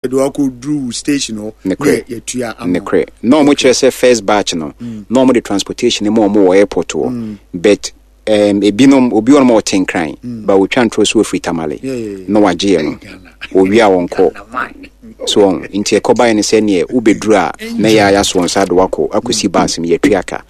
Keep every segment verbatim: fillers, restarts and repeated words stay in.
Yɛde wakɔduru station hɔ ne yɛtua ama. Nokorɛ, na ɔmo kyerɛ sɛ first batch no mm. na ɔmo de transportation mu ɔmo wɔ airport hɔ mm. but um, ebinom obi wɔn a ɔte Nkran mm. ba otwa ntorɔ so ofiri Tamale na wagye yɛ no owie a wɔnkɔ so wɔn nti ɛkɔbaeɛ no sɛ neɛ wobɛduru a na yɛ ayɛ so wɔn nsa de wakɔ akɔsi bus mu, yɛtua ka.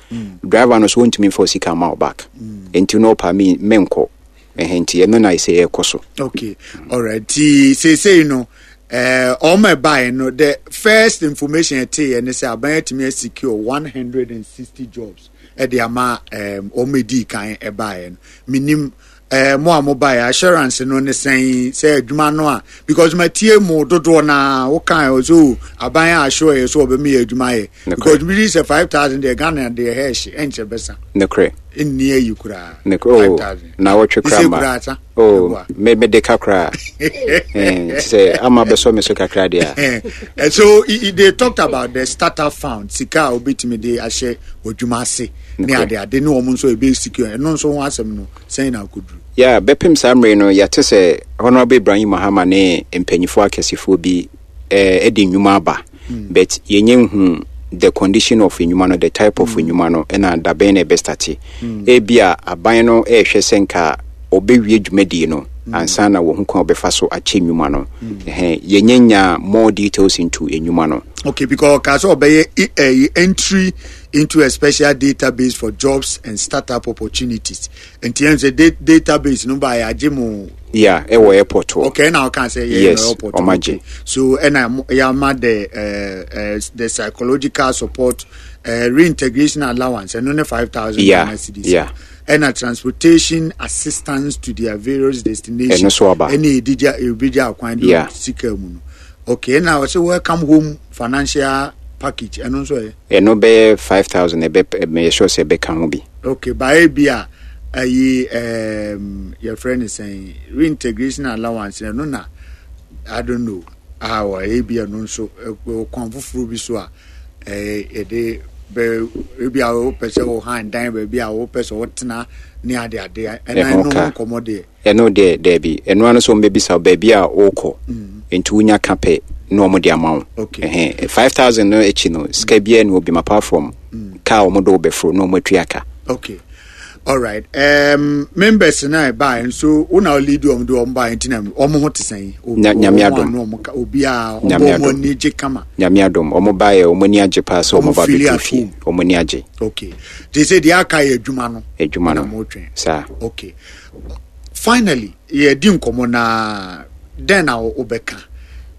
Driver no so wɔntumi mfa osika ma wo back, nti na ɔpa mi menkɔ ɛhɛn, nti ɛno na ɛsɛ yɛkɔ so. Okay, alright, ti seesei no ɛɛ ɔmo ɛbaeɛ no, the first information ɛte yɛ ne sɛ aban atumi secure one hundred and sixty jobs ɛde ama ɛɛm ɔmo edi kan ɛbaeɛ no. Minim ɛɛ mo a mo baeɛ, assurance no ne sɛn sɛ adwuma no a, because ma tie mo dodoɔ naa wokan so aban a assure yɛ so ɔbɛmi yɛ adwuma yɛ, because mi sɛ five thousand deɛ, Ghana deɛ hɛɛhye ɛnkyɛ bɛsa. Nokorɛ. Nni ayi koraa. Nokorɛ o, na wɔtwe koraa ma o me me de ka koraa sɛ ama bɛsɔ me so kakra deɛ. A so they talked about the startup fund, sika a obetumi de ahyɛ odwuma ase ne ade ade ne wɔn nso ebe secure. Ɛno nso ho asɛm no sɛn na akoduru? Yeah, bɛpem saa mmere no, yɛate sɛ Honorable Ibrahim Mahama ne mpanyinfoɔ akɛsefoɔ bi ɛɛ de nnwuma aba mm. but yɛnyɛ nhu the condition of nnwuma no, the type of nnwuma no, ɛna dabɛn na ɛbɛstart mm. Ebi a aban no ɛrehwɛ sɛ nka ɔbɛwie dwumadie no mm. ansa na wɔn ho kwan ɔbɛfa so akyɛ nnwuma no. Ɛhɛn, yɛnyɛ nya more details into nnwuma no. Okay, because ɔka sɛ ɔbɛyɛ ɛyɛ entry into a special database for jobs and startup opportunities, nti yɛn sɛ database no ba yɛ agye mo. Yeah, ɛwɔ airport hɔ. Okay, ɛna ɔka sɛ yɛ yes, airport. Ɔmo agye. So ɛna yɛama the uh, uh, the psychological support, uh, reintegration allowance, ɛno ne five thousand yeah, cedis. Yeah. Ɛna transportation assistance to their various destinations. Ɛno so aba. Ɛna edigya ebigya akwan de Yeah. sika mu no. Okay, ɛna ɔsɛ welcome home financial package, ɛno nso yɛ. Ɛno bɛyɛ five thousand, ɛbɛ ɛyɛ sure sɛ ɛbɛka ho bi. Okay, baayi bi a ɛyi ɛɛm yɛfrɛ no sɛn, reintegration allowance, ɛno na I don't know a wɔ ebi ɛno nso ɛ kwan foforɔ bi so a ɛɛ yɛde bɛ ebi a wopɛ sɛ wɔhan dan baabi a wopɛ sɛ wɔtena ne ade ade, ɛna Ɛho ɛno ho ka. Nkɔmɔ deɛ. Ɛno deɛ daabi, ɛno ano sɛ ɔmbɛbisa wo baabi a wokɔ, nti wonya ka pɛ na ɔmo de ama wo. Okay. Ɛhɛn, five thousand no akyi no, sika biara ne obi apart from kaa ɔmo de wo bɛforo na ɔmo atua ka. Okay, alright, um, members na ɛbaa nso, wo na lead wɔn de wɔn baa, nti na wɔn ho te sɛn? Nya- Nyame adom. Obiara Nyame ɔbɔ wɔn adom. ani gye kama? Nyame adom, ɔmo baeɛ, ɔmo ani agye paa sɛ ɔmo Ɔmo ba feel bɛduru at fie. home. Ɔmo ani agye. Okay, te sɛ deɛ aka yɛ adwuma no. Adwuma na no. mo twɛn. Saa. Okay, finally, yɛdi nkɔmɔ na dɛn na wobɛka?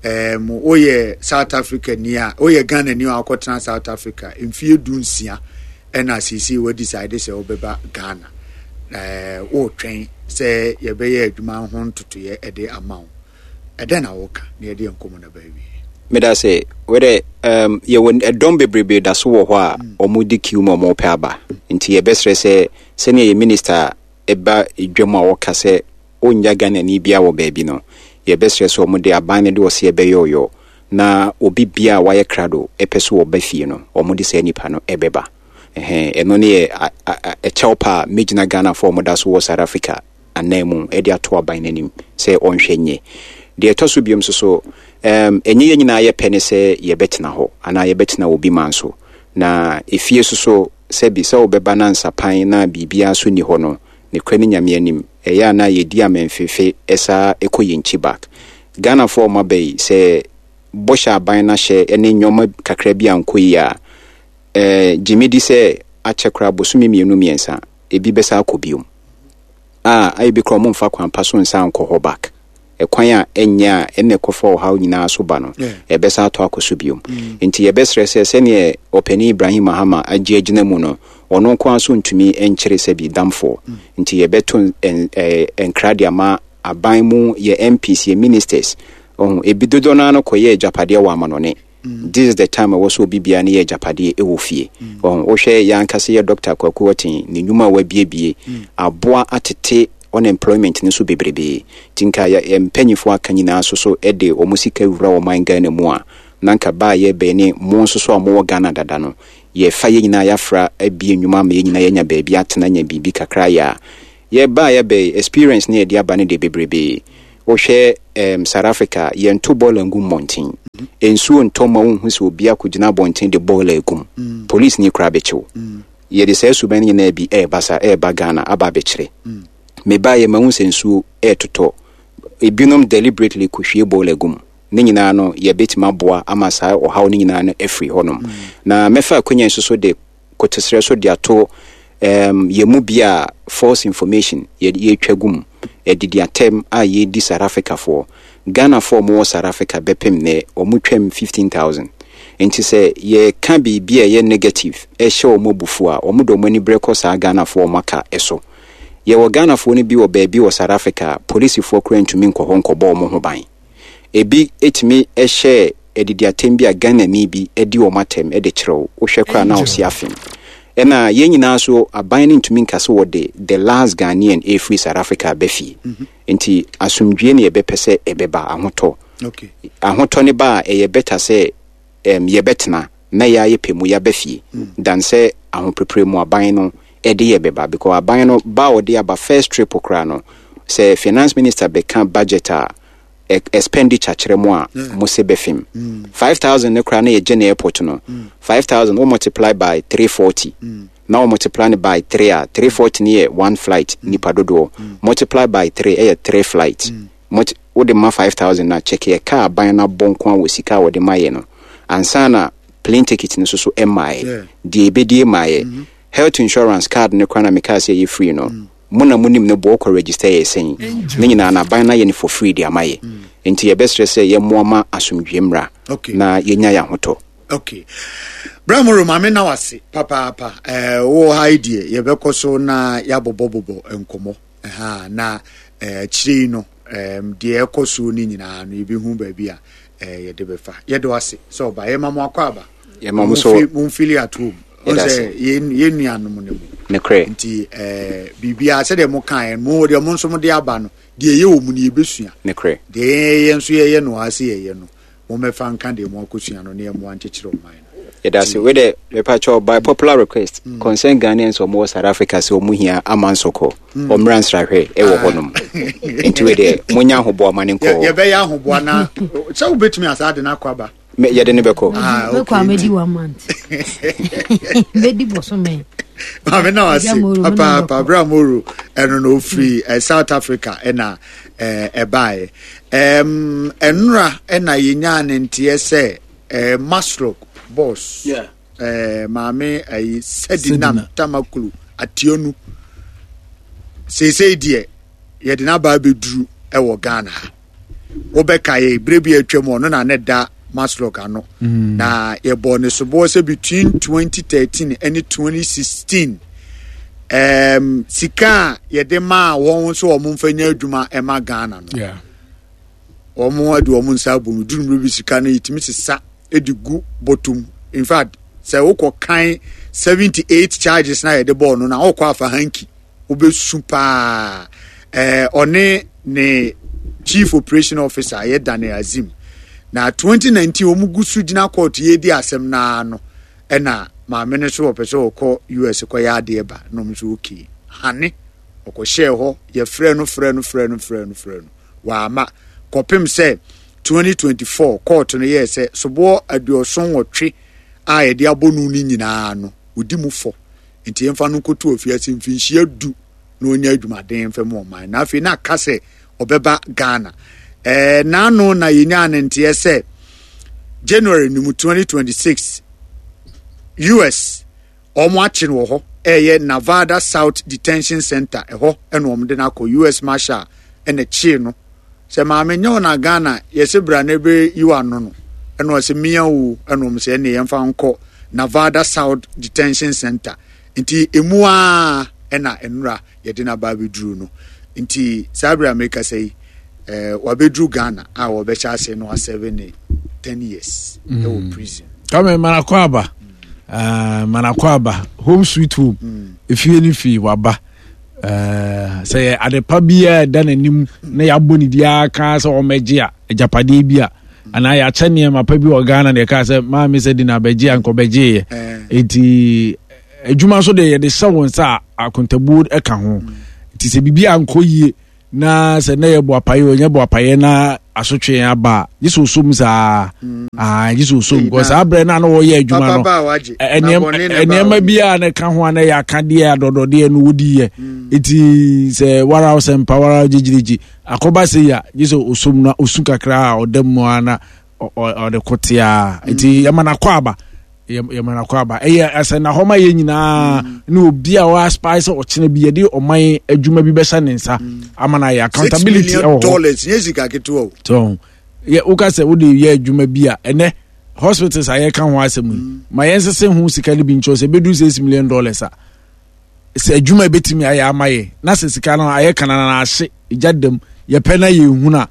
um, woyɛ South Africa ni a, woyɛ Ghana ni a wakɔtena South Africa mfie du nsia, ɛna seesei wadecide sɛ wobɛba Ghana, uh, wotwɛn sɛ yɛbɛyɛ adwuma ho ntotoyɛ ɛde ama wo, ɛdɛn na woka na yɛde yɛn nkɔmmɔ no baawie? Meda sɛ wɛdɛ um, yɛwɔ ɛdɔm bebrebe da so wɔ hɔ a ɔmo di queue mu a ɔmo pɛ aba, nti yɛbɛsrɛ sɛ sɛnea yɛ minister ɛba dwam a wɔka sɛ ɔnnya Ghanani bia wɔ baabi no, yɛbɛsrɛ sɛ ɔmo de aban no de ɔsɛ yɛbɛyɛ ɔyɔ na obi bia a wayɛ krado ɛpɛ so ɔba fie no, ɔmo de saa nipa no ɛbɛba. Ɛhɛn, ɛno ne yɛ a- a- a- ɛkyɛw pa a mɛgyina Ghanafoɔ a ɔmo da so wɔ South Africa anan mu ɛde ato aban n'anim sɛ ɔnhwɛ nyɛ deɛ ɛtɔ so biom nso so. um, ɛnyɛ yɛn nyinaa yɛpɛ ne sɛ yɛbɛtena hɔ anaa yɛbɛtena obi man so na efie so so sɛbi sɛ wobɛba na nsapan na biribiara so nni hɔ no, ne kura ne Nyame anim, ɛyɛ a na yɛdi amamfefe ɛsaa ɛkɔ yɛn nkyi back. Ghanafoɔ a ɔmo aba yi, sɛ bɔhyɛ aban no ahyɛ ne nneɛma kakra bi ankɔ yi a, ɛɛ gyimi di sɛ akyɛ koraa bosome mmienu mmiɛnsa ebi bɛsa akɔ biom a ayɛ bi koraa, ɔmo mfa kwan pa so nsa nkɔ hɔ back, ɛkwan a ɛnyɛ a ɛna ɛkɔfa ɔhaw nyinaa so ba no, Yeah. ɛbɛsa atɔ akɔ so biom. Nti yɛbɛsrɛ sɛ sɛneɛ ɔpanin Ibrahim Mahama agye agyina mu no, ɔno nko ara so ntumi nkyere sɛ bi damfoɔ, nti yɛbɛto ɛn- ɛɛ, nkra de ama aban mu, yɛ M Ps, yɛ ministers, ɔho ebi dodoɔ no ara no kɔyɛ agyapadeɛ wɔ amanɔne. This is the time ɛwɔ so obi biara ne yɛ agyapadeɛ ɛwɔ fie. Ɔho wohwɛ yɛn ankasa yɛ Doctor Kwaku Ɔten ne nnwuma a wabiebie aboa atete unemployment no so bebrebee, nti nka yɛ yɛ mpanyinfoɔ aka nyinaa so so ɛde wɔn sika wura ɔman Ghana mu a, na nka baa yɛ bɛn ne mo nso so a mowɔ Ghana dada no, yɛfa yɛn nyinaa yɛafra abie nnwuma ama yɛn nyinaa yɛnya baabi atena, nya biribi kakra yɛ a yɛbaa yɛbɛn experience ne yɛde aba no deɛ bebrebee. Wohwɛ um, South Africa, yɛnto bɔɔla ngu mmɔnten. Nsuo ntɔ ma wonhu sɛ obi akɔgyina abɔnten de bɔɔla agum, police ni koraa bɛkyew. Yɛde saa suban no nyinaa bi ɛɛba sa ɛɛba Ghana aba abɛkyerɛ. Mebaeɛ mahu sɛ nsuo ɛɛtotɔ, ebinom deliberately kɔhwie bɔɔla gum. Ne nyinaa no, yɛbɛtumi aboa ama saa ɔhaw no nyinaa no afiri hɔnom. Na mɛfa akonnwa nso so de kotesrɛ so de ato um, yɛn mu bi a false information yɛtwa gu mu, ɛdidi atɛm a yɛdi South Africafoɔ. Ghanafoɔ a wɔwɔ South Africa bɛpem nɛ wɔn twam fifteen thousand, nti sɛ yɛka biribi a ɛyɛ negative ɛhyɛ wɔn abufuo a, wɔn de wɔn ani berɛ kɔ saa Ghanafoɔ a wɔn aka ɛso. Yɛwɔ Ghanafoɔ no bi wɔ baabi wɔ South Africa a polisifoɔ koraa ntumi nkɔ hɔ nkɔbɔ wɔn ho ban. Ebi etumi ɛhyɛ ɛdidi atɛm bi a Ghanani bi ɛdi wɔn atɛm ɛde kyerɛw, wohwɛ koraa na ɔsi afem. Ɛna yɛn nyinaa so, aban no ntumi nka so wɔde the last Ghanaian ɛfiri South Africa aba fie. Nti asomdwie ne yɛbɛpɛ sɛ ɛbɛba, ahotɔ. Okay ahotɔ ne ba a, ɛyɛ better sɛ um, yɛbɛtena na yɛayɛ pɛ mu yɛaba fie dan sɛ ahoprepre mu aban no ɛde yɛ bɛba, because aban no ba a ɔde aba first trip koraa no, sɛ finance minister bɛka budget a e- expenditure kyerɛ mu a, mo se bɛfim five thousand ne koraa na yɛgye ne airport no five thousand, wo multiply by three forty na wo multiply no by three a, three forty ne yɛ one flight nipa dodoɔ, multiply by three ɛyɛ three flight. Multi- wode ma five thousand na check yɛ kaa aban no abɔ nko a wɔ sika a wɔde ma yɛ no ansa na plane ticket no nso so ɛmaeɛ. Yeah. Deɛ ɛbɛdie maayɛ, health insurance card no koraa na mekaa sɛ ɛyɛ free no, mo na monim no boɔ kɔ register yɛ sɛn. Ne nyinaa na aban no ayɛ no for free de ama yɛ, nti yɛbɛsrɛ sɛ yɛmmoa ma asomdwie mmra Okay. na yɛnya yɛ ahotɔ. Okay, Bramoro, maame na wase papaapa. ɛɛ wɔ ha yi deɛ, yɛbɛkɔ so na yɛabobɔbobɔ nkɔmmɔ ɛha na ɛɛ akyire yi no, ɛɛm deɛ ɛkɔ so no nyinaa no, yɛbɛhu baabi a ɛɛ yɛde bɛfa. Yɛde wase sɛ ɔba, yɛma mo akɔ aba. Yɛma mo so. Momfili at home. Yɛda sɛ ase. yɛn yɛn nuanom no mu. Nokorɛ. Nti ɛɛ biribiara sɛdeɛ mo kaeɛ no, mo deɛ, mo nso mo de aba no deɛ, ɛyɛ wɔ mu no yɛbɛsua. Nokorɛ. Deɛ yɛn nso yɛyɛ no ase yɛyɛ no, mommɛfa nka deɛ mo akɔsua no ne yɛmmoa nkyekyere ɔman no. Yɛda ase. Wei dɛ, mepakyɛw, by popular request, concern Ghanaians a ɔmowɔ South Africa sɛ ɔmo hia ama nsɔkɔ ɔmmra nsrahwɛ ɛwɔ hɔnom, nti wei deɛ monya ahoboa ma ne Yɛ- nkɔ. Yɛbɛyɛ ahoboa na sɛ wobɛtumi asa de no akɔ aba. Me- yɛde ne bɛkɔ. Ah, mɛkɔ okay. a mɛdi one month, mɛdi bɔsome. Maame na wase Agya Moro, mo na papaapa. bɛkɔ. Bra Moro, ɛno na ofiri eh, South Africa ɛna eh, ɛbaeɛ. Ɛm, ɛnora ɛna yɛnyaa ne nteɛ sɛ eh, MASLOC boss, Yeah. eh, maame ayi Sedinam Sedina. Tamakloe Attionu, seesei deɛ yɛde n'aba abɛduru ɛwɔ Ghana ha. Wobɛka yɛ berɛ bi atwam, ɔno na ne da MASLOC ano na yɛbɔɔ ne soboɔ sɛ between twenty thirteen ne twenty sixteen, um, sika a yɛde maa wɔn nso wɔn mfa nya adwuma ɛma Ghana no, Yeah. wɔn de wɔn nsa abɔ mu duru mmerɛ bi, sika no yɛtumi sesa de gu bɔtɔm. In fact, sɛ wokɔ kan seventy-eight charges na yɛde bɔɔ no na wokɔ afa hanky, wobɛsu paa. ɛɛ ɔne ne chief operation officer yɛ Daniel Azim na twenty nineteen wɔn gu so gyina court yɛdi asɛm naa no, ɛna maame no so wɔpɛ sɛ ɔkɔ U S kɔyɛ adeɛ ba na ɔmo nso okay hane ɔkɔhyɛɛ hɔ. Yɛfrɛ no, frɛ no, frɛ no, frɛ no, frɛ no, wama kɔpem sɛ twenty twenty-four court no yɛɛ sɛ soboɔ aduɔson nwɔtwe a yɛde abɔ no no nyinaa no, odi mu fɔ, nti yɛmfa no nkɔto afiase mfinhyia du na ɔnya adwumaden mfɛ mu ɔman. Na afei na aka sɛ ɔbɛba Ghana. ɛɛ n'ano na yɛnyaa ne nteɛ sɛ January no mu twenty twenty-six, U S wɔn akye no wɔ hɔ, ɛyɛ Nevada South Detention Center ɛhɔ ɛna wɔn de no akɔ. U S Marshal ɛna kyee no sɛ maame nyɛ wɔn na Ghana yɛsɛ bra na ebe yi wa ano no, ɛna ɔsɛ mmea o, ɛna wɔn sɛ ɛna yɛmfa nkɔ Nevada South Detention Center. Nti emu a ɛna nnura yɛde n'aba abɛduru no, nti saa abiri a meka yi, ɛɛ wabɛduru Ghana a wɔbɛhyɛ ase no aserve ne ten years ɛwɔ prison. Kame manakɔ aba. uh, manakɔ aba home sweet home mm. Efie ne fie waba. uh, sɛ yɛ adepa biara ɛda n'anim na yɛabɔ ne diaa ka sɛ ɔmɛgye a agyapadeɛ bi a anaa yɛakyɛ nneɛma pa bi wɔ Ghana na yɛka sɛ maame sɛ di na abɛgye a nkɔbɛgyeeɛ. Enti adwuma nso deɛ, yɛde hyɛ wɔn nsa a akontabuo ka ho, nti sɛ biribi ankɔ yie na sɛ na yɛ boapayɛ o nyɛ boapayɛ na Asotwe aba a gye sɛ osom saa. Ah, gye sɛ osom because saa berɛ no a na wɔyɛ adwuma no, Papa ba a wagye. ɛ- Na nneɛma bɔne na ɛ- ɛba nneɛma wo. bi a na ɛka ho a na ɛyɛ akadeɛ adɔdɔdeɛ no wodiiɛ. Nti sɛ wara wo sɛ mpa wara wo gyegyirigyi akɔba sɛ yi a, gye sɛ osom na osu kakra a ɔda mu a na ɔ- ɔ- ɔde ko tea. Nti yɛma no akɔ aba, Yɛ- yɛma no akɔ aba. Ɛyɛ asɛ na hɔ ma yɛ nyinaa ne obi a ɔaspire sɛ ɔkyena bi yɛde ɔman adwuma bi bɛhyɛ ne nsa ama no ayɛ Six accountability million ɛwɔ hɔ. dollars nyɛ sika ketewa o. So yɛ woka sɛ wode yɛ adwuma bi a, ɛnɛ hospitals a yɛka ho asɛm yi ma yɛnsese ho sika no bi nkyɛw sɛ ɛbɛdu six million dollars a, sɛ adwuma bɛtumi ayɛ ama yɛ na sɛ sika no ayɛ kanana na ahye gya dam yɛpɛ na yɛhunu a,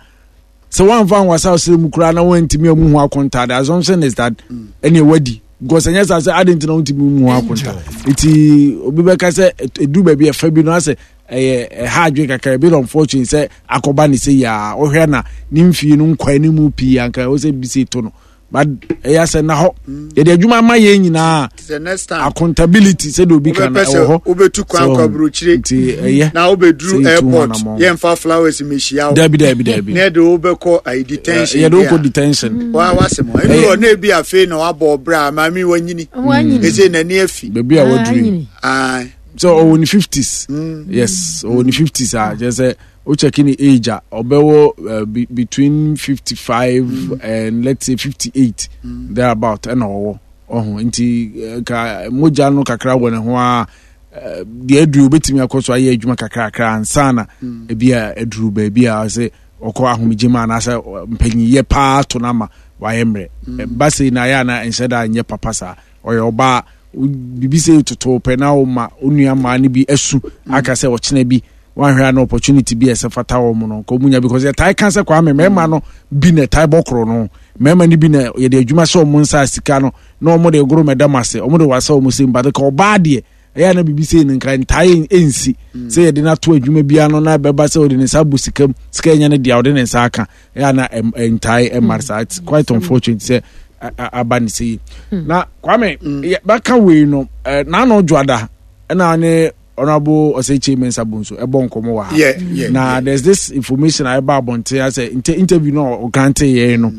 sɛ woamfa nwasa wo mu koraa na woantumi amu ho akonta, the assumption is that ɛne wadi, because ɛnyɛ saa sɛ ade nti na wontumi mu ho akonta. Nti obi bɛka sɛ ɛdu baabi ɛfa bi no asɛ ɛyɛ ɛha adwe kakra, a bit unfortunate sɛ akɔba ne sɛ yia wohwɛ na ne mfie no nkwa ne mu pii anka ɛwɔ sɛ bi sɛ to no, but ɛyɛ sɛ na hɔ yɛde adwuma ama yɛn nyinaa. Sɛ next time Accountability sɛdeɛ obi ka no wobɛpɛ ɛwɔ sɛ hɔ. wobɛtu kwan So, kɔ aburokyire nti ɛyɛ na wobɛduru sɛ yɛtu ho airport, anammɔn. yɛmfa flowers mehyia wo Dabi, dabi, dabi. Na yɛde wobɛkɔ ayi detention. Yɛde bi wokɔ a, detention. wa wasɛm hɔ ɛnu wɔ na ebi afei na wabɔ ɔbrɛ a maame wanyini Wanyini. ɛsɛ n'ani afi. Baabi a waduru yi. Anyini. Aye. So ɔwɔ ne fifties, yes, ɔwɔ ne fifties a kyerɛ sɛ wokyɛke ne age a ɔbɛwɔ uh, be, between fifty five and let's say fifty eight thereabout ɛna ɔwɔ ɔho. Nti eh, ka mogya no kakra wɔ ne ho a, eh, deɛ aduru obɛtumi akɔ so ayɛ adwuma kakrakra ansa na ebi a aduru baabi a sɛ ɔkɔ ahomegye mu anaasɛ ɔ- mpanyiyɛ paa to no ama wayɛ mmerɛ. Ba sei na ayɛ ana nhyɛ da nyɛ papa saa. Ɔyɛ ɔbaa wo- biribi sɛ toto pɛ na woma wo nua mmaa no bi asu aka sɛ ɔkyena bi wanhwɛ a na opportunity bi a ɛsɛ fata wɔ mu no nka ɔmu nya, because yɛtae ka sɛ Kwame mmarima no bi na ɛtae bɔ koro no, mmarima no bi na yɛde adwuma hyɛ ɔmo nsa a sika no na ɔmo de goro mɛdam ase, ɔmo de wasa ɔmo sɛm, but ka ɔbaa deɛ ɛyɛ na biribi sei no nka ntae ɛnsi sɛ yɛde no ato adwuma biara no na bɛba sɛ ɔde ne nsa abɔ sika mu, sika ɛnyɛ no deɛ ɔde ne nsa aka, ɛyɛ na ɛm- ɛntae ɛmma saa. It's quite unfortunate sɛ a- a- aba ne sɛ yi na Kwame yɛ- bɛka wei no ɛ, n'ano dwoada ɛna ne Honourable Osei Kyei Mensah Bonsu ɛbɔ nkɔmmɔ wɔ ha. Yeah, yeah, Na yeah. there's this information a ɛba abɔnten asɛ inter interview no a ɔgrante yɛn no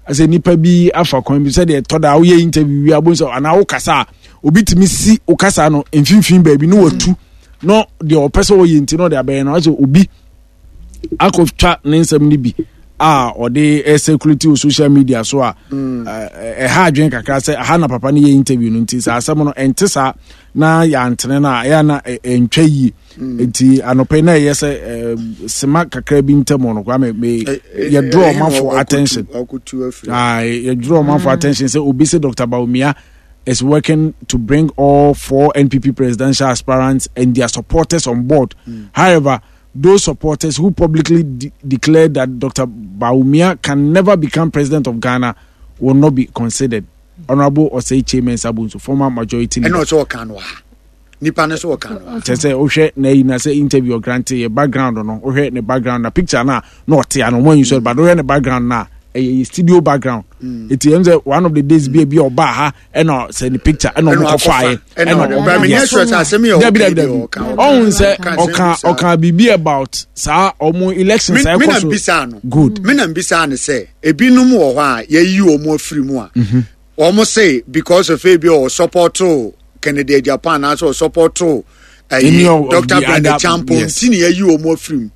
asɛ nipa bi afa kwan bi sɛdeɛ ɛtɔ da a woyɛ interview wi abɔ sɛ anaa wokasa a obi tumi si wokasa no mfimfini baabi ne watu na deɛ ɔpɛ sɛ ɔyɛ nti na ɔde abɛyɛ no asɛ obi akɔtwa ne nsɛm no bi a ɔde circulate wɔ social media so a ɛ- ɛha adwene kakra sɛ aha na papa no yɛ interview no. Nti saa asɛm no ɛnte saa na yɛantene no a ɛyɛ na ɛ- ɛntwa yie. Nti anɔpɛ na ɛyɛ sɛ ɛ, sema kakra bi ntam no Kwame me yɛdraw ɔmanfo attention. Ɔkotu afiri. Ah, yɛdraw ɔmanfo attention sɛ obi sɛ Doctor Bawumia is working to bring all four N P P presidential aspirants and their supporters on board. However, those supporters who publicly de- declared that Doctor Bawumia can never become president of Ghana will not be considered. Honorable Osei Kyei Mensah Bonsu, former majority leader. Ɛna ɔsɛ ɔka no ha nipa no sɛ ɔka no ha. Kyerɛ sɛ wohwɛ na yi na sɛ interview ɔgrante yɛ background no, wohwɛ ne background na picture no a na ɔte ano ɔmo anyi so, but wohwɛ ne background no a ɛyɛ yɛ studio background. Eti ɛm sɛ one of the days bi a bi a ɔbaa ha ɛna sɛ ne picture ɛna ɔmo Ɛna kɔfaeɛ. wakɔfa. Ɛna ɔde- But menyɛ sure sɛ asɛm yɛ Dabi, ɔka dabi, deɛ dabi. ɔka. Ɔhun sɛ Ɔka asɛm ɔka bi saa. Ɔka biribi about saa ɔmo election Me saa me na ɛkɔ so. mbisa no. Good. Me na mbisa no sɛ ebinom wɔ hɔ a yɛyi wɔn afiri mu a wɔn say because of ebi ɔ support Kennedy Agyapong anaasɛ ɔ support Any ɛyi of- of Doctor the Brandon other- Champon yes. ti na yɛyi wɔn afiri mu.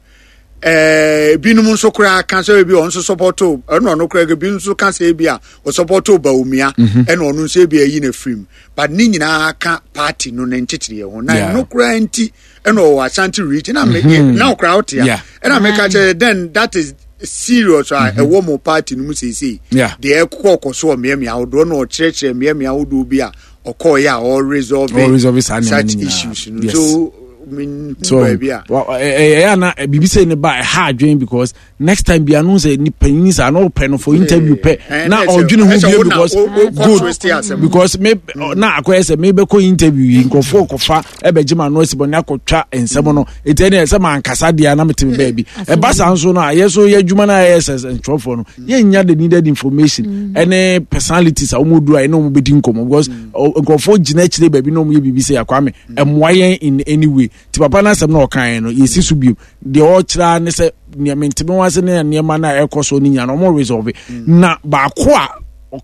Ɛɛ ebinom nso koraa ka sɛ ebi ɔno nso support, ɛna ɔno koraa ebi nso ka sɛ ebi a ɔsupport Bawumia, ɛna ɔno nso ebi ayi n'afiri mu, but ne nyinaa ka party no ne nkyekyere ho na Yeah. ɛno koraa nti ɛna ɔwɔ Ashanti Region na me na ɔkoraa ɔte a Yeah. ɛna meka kyerɛ then that is serious a ɛwɔ mo party no mu seesei. Yeah. Deɛ ɛkɔ kɔ so wɔ mmeammea ahodoɔ na ɔkyerɛkyerɛ mmeammea ahodoɔ bi a ɔkɔɔyɛ a ɔresolve Ɔresolve saa nneɛma such no nyinaa. issues no. Yes. So menhu So baabi a wa- ɛ- ɛ- ɛyɛ ana biribi sɛ ne ba ɛha adwene, because next time bi ano sɛ nipa yi saa na ɔpɛ no for interview pɛ Eh, na na ɛsɛ- ɔdwene ho ɛsɛ bio wo na because wo- wo kɔ good twist asɛm. Because me na akɔyɛ sɛ mebɛkɔ interview yi nkurɔfoɔ kɔfa ɛbɛgye ma ano asi bɔ ne akɔtwa nsɛm no ɛti ɛne sɛ mankasa deɛ na mete me baabi. Ɛba saa nso no a yɛ so yɛ adwuma no a yɛyɛ sɛ ntwerɛfoɔ no yɛnnya the needed information ɛne personalities a wɔn duru a ɛne wɔn bɛdi nkɔmmɔ, because ɔ- nkurɔfoɔ gyina akyire baabi na wɔn yɛ biribi sɛ Akwame ɛmmoa yɛn in any way. Nti papa no asɛm na ɔkaeɛ no, yɛsi so biom. Deɛ ɔkyerɛ ne sɛ nea menteme ho ase ne nneɛma no a ɛkɔ so no nyina no, ɔmo resolve. Na baako a